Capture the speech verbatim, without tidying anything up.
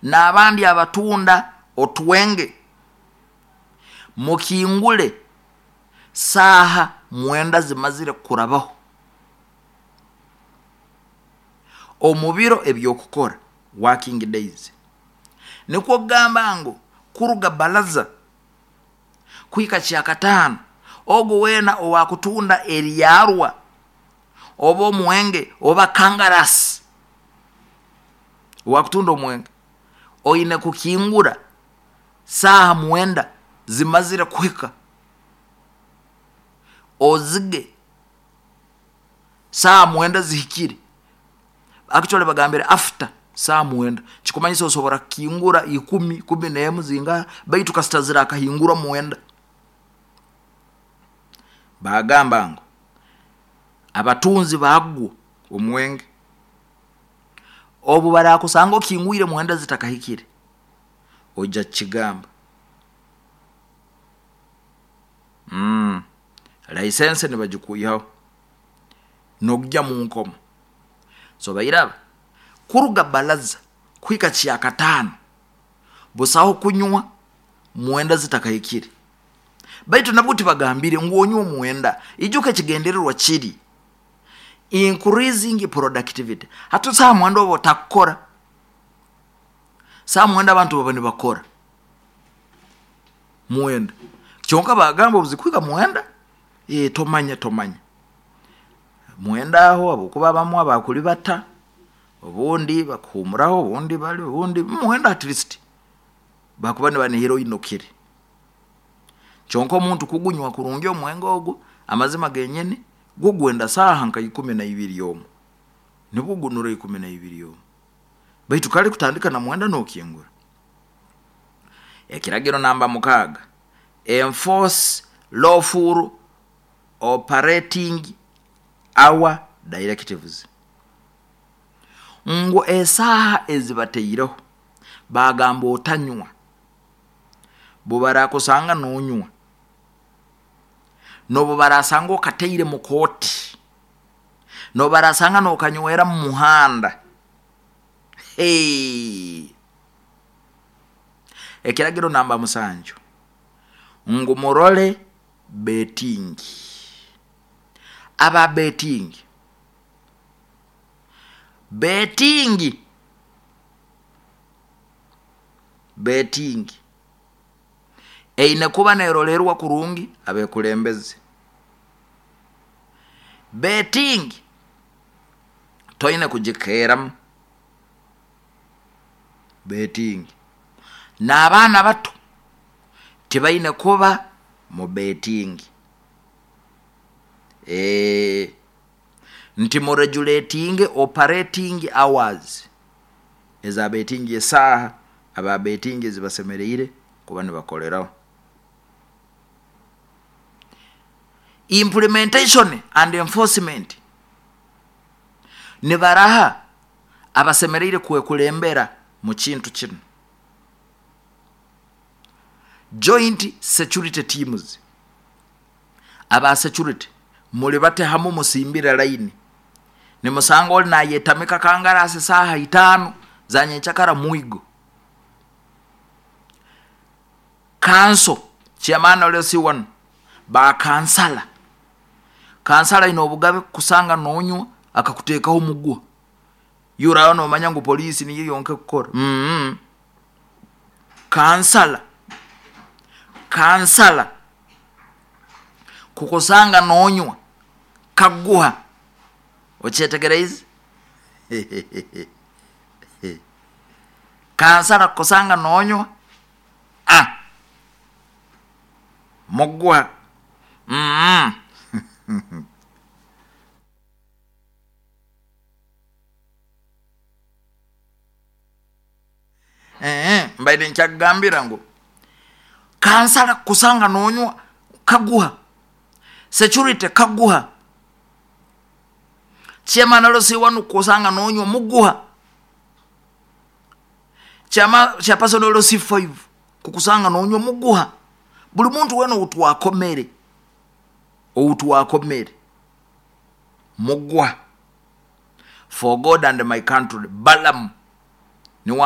N'abandi abatunda otwenge mukingule saaha mwenda zimazire kurabaho omu biro ebyokukora, working days. Nikwo kugamba ngu kuruga balaza kuhika kyakataano, ogu weena owakutunda eryarwa oba omwenge oba kangarasi, owakutunda omwenge oine kukingura saaha mwenda zimazire kuhika, ozige saaha mwenda zihikire. Actually bagambire after saaha mwenda, kikumanyisa osobora kukingura ikumi, kumi nemu, zingaha, baitu kasita zirakahingura mwenda. Bagamba ngu abatunzi bagwo omwenge obu barakusanga okingwire mwenda zitakahikire, oija kukigamba. mm. License nibagikwihaho nokujya mu nkomo. So bairaba kuruga balaza kuhika kyakataano busaho kunywa mwenda zitakahikire. Baitu nabwo tibagambire ngu onywe omwenda. Ijuka ekigendererwa kiri increasing productivity. Hati saaha mwenda oba otakukora, saaha mwenda abantu baba nibakora mwenda, kyonka bagamba obuzikuhika mwenda, e, tomanya tomanya mwenda aho, habwokuba abamu abakulibata obundi bakuhumuraho, obundi bali obundi mwenda, at least bakuba nibanihira oinukire. Kyonka omuntu kugunywa kurungi omwenge ogu, amazima genyini gwo gwenda saaha nka ikumi na ibiri omu, nibwo gunura ikumi na ibiri omu, baitu kale kutandika na mwenda nokingura. Ekiragiro namba mukaaga, enforce lawful operating hour directives, ngu esaaha ezibateireho bagamba otanywa, bubarakusanga nonywa, nobu barasanga okateire mu kooti, nobu barasanga nokanywera mu muhanda. Hey. Ekiragiro namba musanju, ngu murole betting, aba betting, betting betting eine kuba nerolerwa kurungi abekulembeze. Betting toine kugikeeramu betting, n'abaana bato tibaine kuba mu betting. E, nti mu regulating operating hours eza betting, esaaha aba betting ezibasemereire kuba nibakoleraho. Implementation and enforcement, nibaraha abasemereire kwekulembera mu kintu kinu. Joint security teams, aba security muli bate hamu, musimbire line, nimusanga oli nayetamika kangarasi saaha itaano za nyenkyakara, mwigo kanso chairman L C one, ba kansala, kansala aine obugabe kusanga nonywa akakuteekaho omuguha. Yuraho nomanya ngu poliisi niyo yonka ekukora. mm kansala kansala kukusanga nonywa kaguha, okyetegereize? Kansala kukusanga nonywa, ah, muguha. mm Eh, mbaire nkyakugambira ngu kansala kukusanga nonywa kaguha, security kaguha, chairman L C one kukusanga nonywa muguha, chairperson L C five kukusanga nonywa muguha, buli muntu wena outwakomere outwakomere muguha. For God and my country, Balamu niwe.